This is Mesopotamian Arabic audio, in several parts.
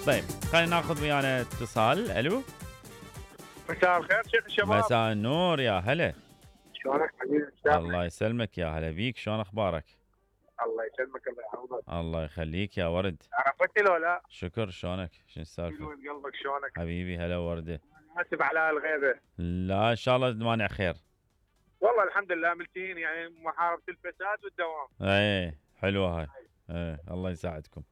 طيب خلينا ناخذ ويانا اتصال. الو مساء الخير شيخ الشباب. مساء النور يا هلا. شلونك حبيبي؟ الله يسلمك يا هلا بيك. شلون اخبارك؟ الله يسلمك الله يعوضك. الله يخليك يا ورد. عرفتني لو لا؟ شكر. شلونك؟ شنو السالفه؟ من قلبك شلونك؟ حبيبي هلا ورده. اسف على الغيبه. لا ان شاء الله مانع خير. والله الحمد لله ملتين يعني محاربه الفساد والدوام. ايه حلوه هاي. ايه الله يساعدكم.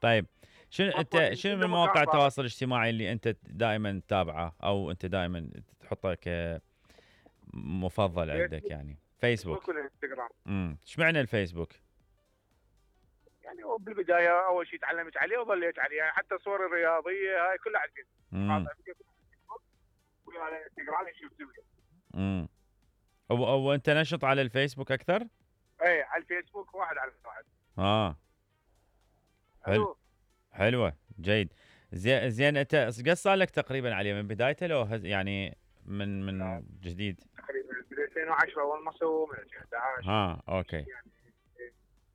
طيب شنو انت شنو من مواقع التواصل الاجتماعي اللي انت دائما تتابعه او انت دائما تحطه كمفضل عندك؟ يعني فيسبوك والانستغرام. ايش معنى الفيسبوك؟ يعني هو بالبدايه اول شيء تعلمت عليه وظليت عليه، يعني حتى صور الرياضيه هاي كلها على الفيسبوك. ويا الانستغرام شوف سوي. وانت نشط على الفيسبوك اكثر؟ ايه على الفيسبوك واحد على واحد. حلو. حلوه جيد. زين انت قد صار لك تقريبا عليه من بدايته لو يعني من جديد؟ تقريبا من 2010 اول ما سووا من 2011. اوكي. يعني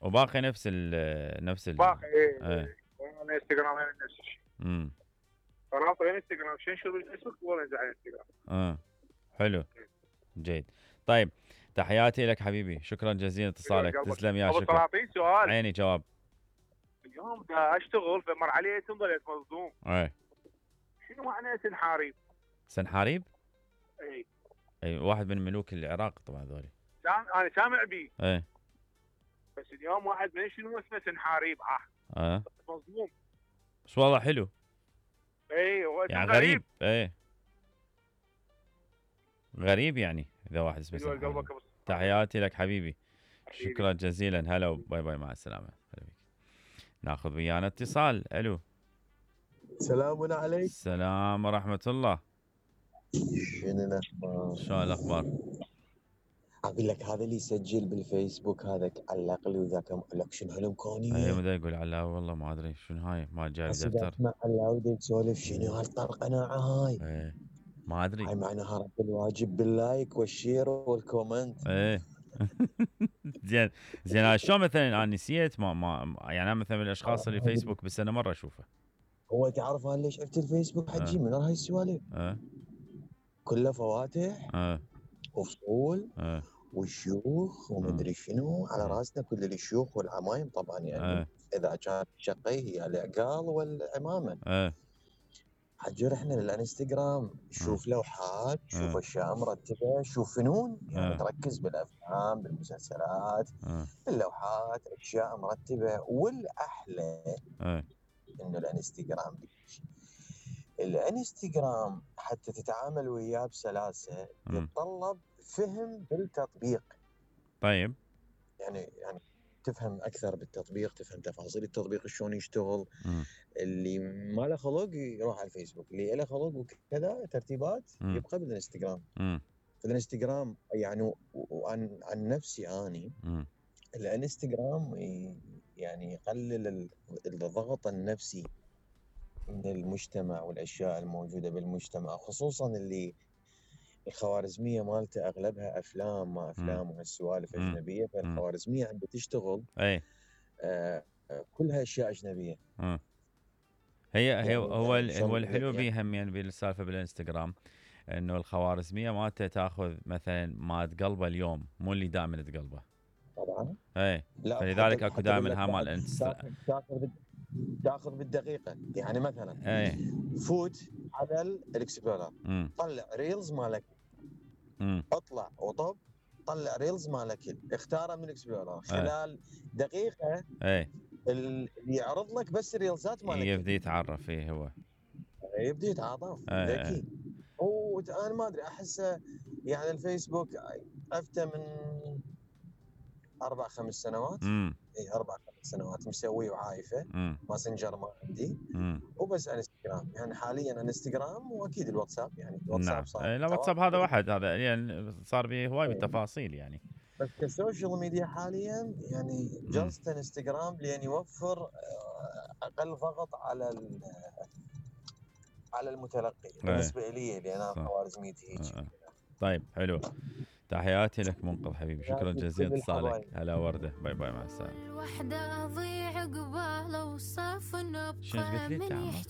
وباقي نفس باقي ايه. الانستغرام نفس الشيء. رابط الانستغرام شنو شغل الفيسبوك ولا نزل على الانستغرام. حلو جيد. طيب تحياتي لك حبيبي، شكرا جزيلا اتصالك. تسلم يا شكرا. طلعتي سؤال عيني جواب. اليوم دا اشتغل فمر علي ظليت مصدوم. شنو معنى سنحاريب؟ سنحاريب؟ اي واحد من ملوك العراق طبعا ذولي. انا سامع بيه. بس اليوم واحد من شنو اسمه سنحاريب. مظلوم. بس والله حلو. هو يعني غريب. غريب يعني اذا واحد اسمه سنحاريب. تحياتي لك حبيبي. شكرا جزيلا. هلا باي باي مع السلامه. ناخذ ويانا اتصال. الو سلام عليك. السلام ورحمه الله. شنو الاخبار؟ شلون الاخبار؟ اقول لك هذا اللي يسجل بالفيسبوك هذاك علق لي وذاك لك شنو هالامكانيه؟ اي مدى يقول على والله ما ادري شنو هاي ما جاي دفتر. اسمع على يسولف شنو هالطرقناعه هاي؟ ما ادري. هاي معناها رد الواجب باللايك والشير والكومنت. زين شلون مثلا انا نسيت ما يعني انا مثلا من الاشخاص اللي فيسبوك بالسنه مره اشوفه. هو تعرف انا ليش عرفت الفيسبوك حجي من هاي السوالف؟ كله فواتح وفصول والشيوخ ومدري شنو على راسنا كل الشيوخ والعمايم طبعا يعني اذا كانت شقي هي العقال والعمامه. حجر احنا للانستغرام شوف لوحات، شوف اشياء مرتبه، شوف فنون يعني تركز بالافلام بالمسلسلات باللوحات اشياء مرتبه. والاحلى انه الانستغرام حتى تتعامل وياه بسلاسه يتطلب فهم بالتطبيق. طيب يعني تفهم اكثر بالتطبيق، تفهم تفاصيل التطبيق شلون يشتغل. اللي ما له خلق يروح على الفيسبوك، اللي له خلق وكذا ترتيبات يبقى بالانستغرام. الانستغرام يعني عن نفسي اني الانستغرام يعني يقلل الضغط النفسي من المجتمع والاشياء الموجوده بالمجتمع، خصوصا اللي الخوارزميه مالته اغلبها افلام وهالسوالف اجنبيه. فالخوارزميه عم بتشتغل كلها اشياء اجنبيه. هي يعني هو الحلو بيها يعني بالسالفه بالانستغرام انه الخوارزميه مالته تاخذ مثلا ما تقلبه اليوم مو اللي دائما تقلبه طبعا. فلذلك اكو دائما مال الانستغرام تاخذ بالدقيقه. يعني مثلا فوت على الاكسبلورر طلع ريلز مالك، اطلع وطب طلع ريلز مالك، اختاره من الاكسبلورر خلال دقيقه اللي يعرض لك بس الريلزات مالك يبدي يتعرف. هو يبدي يتعاطف ذكي. وانا ما ادري احسه يعني الفيسبوك عرفته من 4-5 سنوات. 4-5 سنوات مسويه وعايفه. ماسنجر ما عندي وبس انستغرام. يعني حاليا انستغرام واكيد الواتساب. يعني الواتساب صار لا واتساب هذا واحد هذا يعني صار به هواي بالتفاصيل يعني. بس كسوشيال ميديا حاليا يعني جلست انستغرام لان يوفر اقل ضغط على المتلقي بالنسبه لي لان انا خوارزميتي هيك. طيب حلو. تحياتي لك منقذ حبيبي، شكرا جزيلا اتصالك. هلا ورده. باي باي مع السلامه. الوحده اضيع قباله وصاف شنو قلت لي انت عمو؟